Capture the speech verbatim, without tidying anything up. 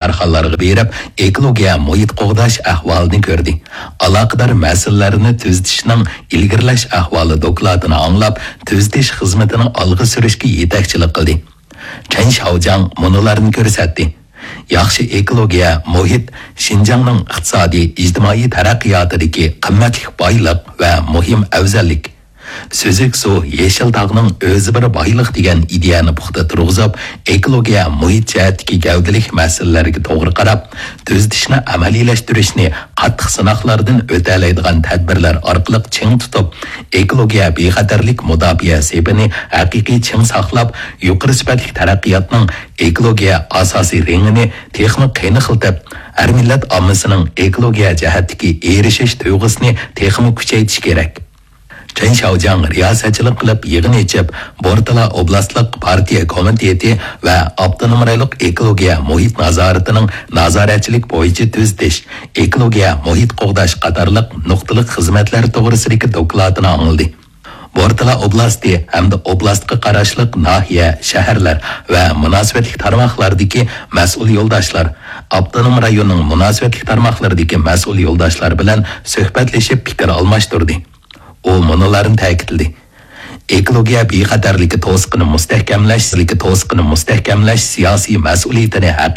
كارخانىلارغا بېرىپ، ئېكولوگىيە مۇھىت قوغداش ئەھۋالىنى كۆردى. ئالاقىدار مەسىلىلەرنى تۈزىتىشنىڭ ئىلگىرىلەش ئەھۋالى دوكلاتىنى ئاڭلاپ، تۈزىتىش خىزمىتىنى ئالغا سۈرۈشكە يېتەكچىلىك قىلدى. چېن شياۋجياڭ مۇنۇلارنى كۆرسەتتى. ياخشى ئېكولوگىيە مۇھىت شىنجاڭنىڭ ئىقتىسادىي، ئىجتىمائىي تەرەققىياتىدىكى قىممەتلىك بايلىق ۋە مۇھىم ئەۋزەللىك. سۈزۈك سۇ، يېشىل تاغنىڭ ئۆزى بىر بايلىق دېگەن ئىدىيەنى پۇختا تۇرغۇزۇپ، ئېكولوگىيە مۇھىت جەھەتتىكى گەۋدىلىك مەسىلىلەرگە توغرا قاراپ، تۈزىتىشنى ئەمەلىيلەشتۈرۈشنى قاتتىق سىناقلاردىن ئۆتەلەيدىغان تەدبىرلەر ئارقىلىق چىڭ تۇتۇپ، ئېكولوگىيە بىخەتەرلىك مۇداپىئە سېپىنى ھەقىقىي چىڭ ساقلاپ، يۇقىرى سۈپەتلىك تەرەققىياتنىڭ ئېكولوگىيە ئاساسىي رېڭىنى تېخىمۇ قېنىقلىتىپ، ھەر مىللەت ئاممىسىنىڭ ئېكولوگىيە جەھەتتىكى ئېرىشىش تۇيغۇسىنى تېخىمۇ كۈچەيتىش كېرەك. چېن شياۋجياڭ رىياسەتچىلىك قىلىپ يىغىن ئېچىپ، بورتالا ئوبلاستلىق پارتىيە كومىتېتى ۋە ئاپتونوم رايونلۇق ئېكولوگىيە مۇھىت نازارىتىنىڭ نازارەتچىلىك بويىچە تۈزىتىش، ئېكولوگىيە مۇھىت قوغداش قاتارلىق نۇقتىلىق خىزمەتلەر توغرىسىدىكى دوكلاتىنى ئاڭلىدى. بورتالا ئوبلاستى ھەمدە ئوبلاستقا قاراشلىق ناھىيە، شەھەرلەر ۋە مۇناسىۋەتلىك تارماقلاردىكى مەسئۇل يولداشلار، ئاپتونوم رايوننىڭ مۇناسىۋەتلىك تارماقلىرىدىكى مەسئۇل يولداشلار بىلەن سۆھبەتلىشىپ پىكىر ئالماشتۇردى. ئۇ مۇنۇلارنى تەكىتلىدى: ئېكولوگىيە بىخەتەرلىكى توسۇقىنى مۇستەھكەملەش، توسۇقىنى مۇستەھكەملەش سىياسىي مەسئۇلىيىتىنى ھەقىقىي